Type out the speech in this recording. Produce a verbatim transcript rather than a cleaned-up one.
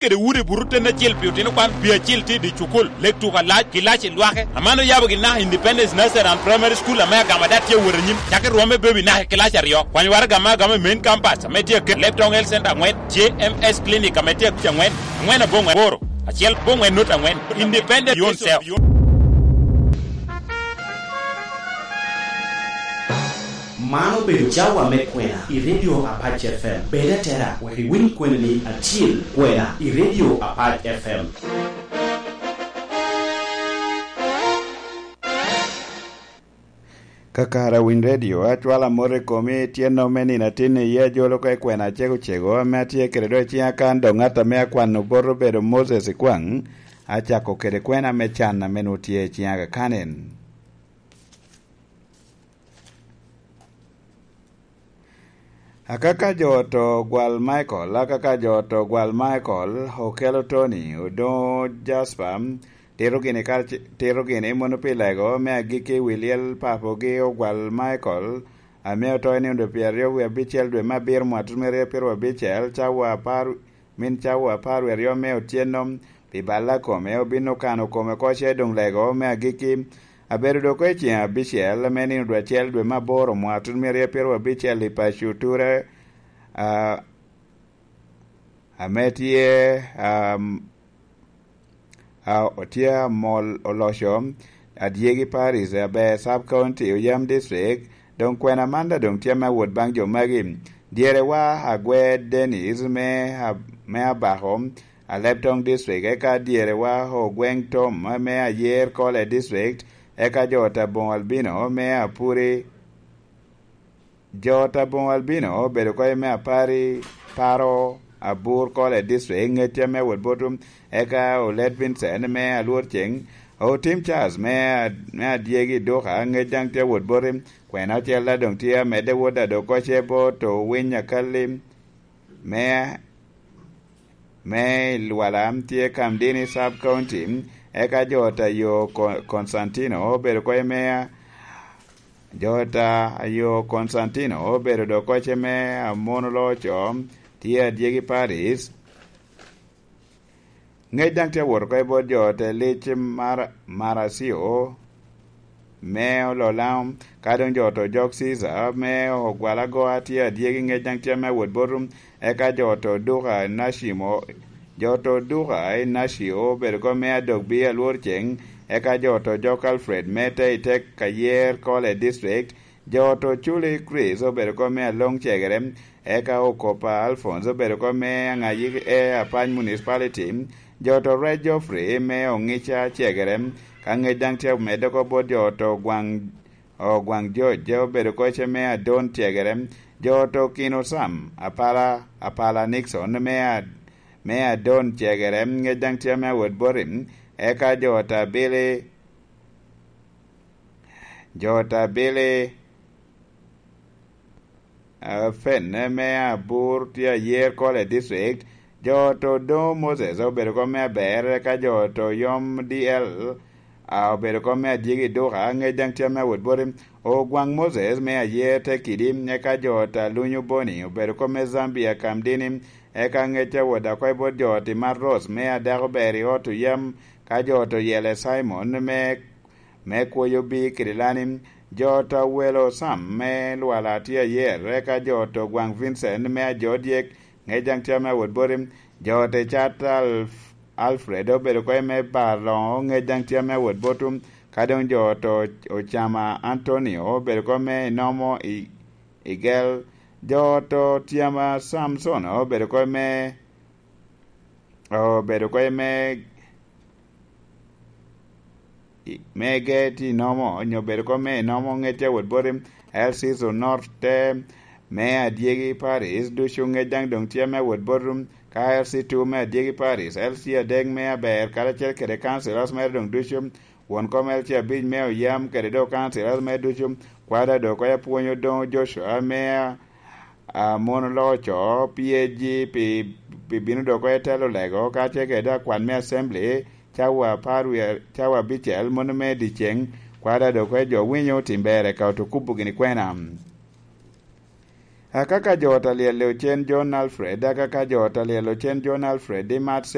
kede udi buto ten acel pi otino kwan pi acil tye i dye cukul, lek tuko alac ki lac i lwake. Aman oyabo gin naka Independence Nursery and Primary School ame agama dat tye awot anyim, cakki rwom me bebi naka i kilac aryo. Kwany waraga ame agama i main campus ame tye aket, Leptong Health Center angwen, J M S Clinic ame tye aket angwen, angwen abongwen aboro, acel abongwen nut angwen. Independent yourself. Man obedo cawa me kwena i Radio Apac F M. Bed atera, wek iwiny kwena ni atyel kwena i Radio Apac F M. Kakare winy redio, acwala mot i komi, tyen-no me nino atin iye ajolo oko i kwena acego cego ame atye kede do i ciŋa kan, dok ŋat ame akwano bot obedo Moses Ikwaŋ, acako kede kwena me can ame nwoŋo tye i ciŋa kakanen. Akaka jo oto gwal Michael, akaka jo oto gwal Michael, Okello Tony, Odoŋo Jasper, tito gini karce-, tito gini mono pi lego me agikki i wi lyel papogi ogwal Michael, ame oto i nino dwe pyeraryo wie abicel dwe me abiro mwaka tutumere pyeraryo abicel, cawa apar, min cawa apar wie aryo me otyeno, pi balla kome, obin okano kome oko ce doŋ lego me agikki. Abedo dok oko i ceŋ abicel, ame nino dwe acel dwe me aboro mwaka tutumere pyeraryo abicel i paco Ture, a, ame tye, am, a, tye amol oloco adyegi Paris, aber Sub County, Oyam District, doŋ kwena man daŋ doŋ tye me awot baŋ jo magi. Dyerewa Agwe Dennis me, a, me Abako, Aleptong District, eka dyerewa Ogweng Tom me Ayer Kole District, eka jo Tabong Albino me Apuri. Jo Tabong Albino obedo oko i me apar i paro abur Kole District, ŋec tye me wot botum, eka Olet Vincent me Alwor Ceng, Otim Charles me, me Adyegi Duka, ŋec daŋ tye wot botim, kwena ocel daŋ doŋ tye amedde wot adok koce bot Owiny Akalli me, me i Lwala tye Kamdini Sub County, eka jo Tayo Ko-, Constantino obedo oko i me, jo Tayo Constantino obedo dok koce me Amono Loco, tye Adyegi Paris. Ŋec daŋ tye awot oko i bot jo te lic mar, Maracio me Ololaŋo, ka doŋ jo to jok Caesar me Ogwalagoa tye Adyegi, ŋec daŋ tye me wot botum, eka jo to Duka Nashimo, jo to Duka i Nashio obedo oko me Adogbi Alwor Ceng, eka jo to jok Alfred me te i tek Ayer Kole District, jo to Culi Chris obedo oko me Aloŋ Cegere, eka Okopa Alphonse obedo oko me Aŋayi e Apac Municipality, jo to Rec Geoffrey me Oŋica Cegere, ka ŋec daŋ tye omedde oko bot jo to Ogwaŋ, Ogwaŋ George obedo oko ce me Adon Cegere, jo to Kino Sam, Apala, Apala Nixon me A-, me Adon Cegere, ŋec daŋ tye me awot boti, eka jo to Abili, jo to Abili, a, Fen me Abur tye Ayer Kole District, jo to Odoŋo Moses obedo oko me Aber, eka jo to Yom D L, a, obedo oko me Adyegi Duka, ŋec daŋ tye me awot boti, Ogwaŋ Moses me Ayer te Kidi, eka jo to Alunyu Boni obedo oko me Zambia Kamdini, eka ŋec awot oko i bot jo to Imat Ros me Adako Ber i Ot Oyam, ka jo to Yele Simon me me kwoyo bi kede lani, jo to Awelo Sam me Lwala tye Ayer, eka jo to Gwaŋ Vincent me Ajo Dyek, ŋec daŋ tye me awot boti, jo to Cat Alf-, Alfred obedo oko i me Bar Loŋo, ŋec daŋ tye me awot botum, ka doŋ jo to Ocama Antonio obedo oko me Inomo i, Igel, jo to Tyama Samson obedo oko i me, obedo oko i me me Geti Nomo, onyo bedo oko me Nomo, ŋec tye awot boti, L C North te me Adyegi Paris, ducu ŋec daŋ doŋ tye me awot boti, ka L C two me Adyegi Paris, L C adek me Aber, karacel kede councillors mere doŋ ducu, won kom L C abic me Oyam, kede dok councillors mere ducu, kwada dok oko apwony Odoŋo Joshua me a, a, mono loco, P A G pi, pi bino dok oko i telo lego, kacel kede akwan me Assembly, cawa apar wie, cawa abicel, mono me dyeceŋ, kwada dok oko jo winyo tim ber, eka oto kubo gini kwena. Akaka jo ot a lyel i ocen John Alfred, akaka jo ot a lyel i ocen John Alfred i Mad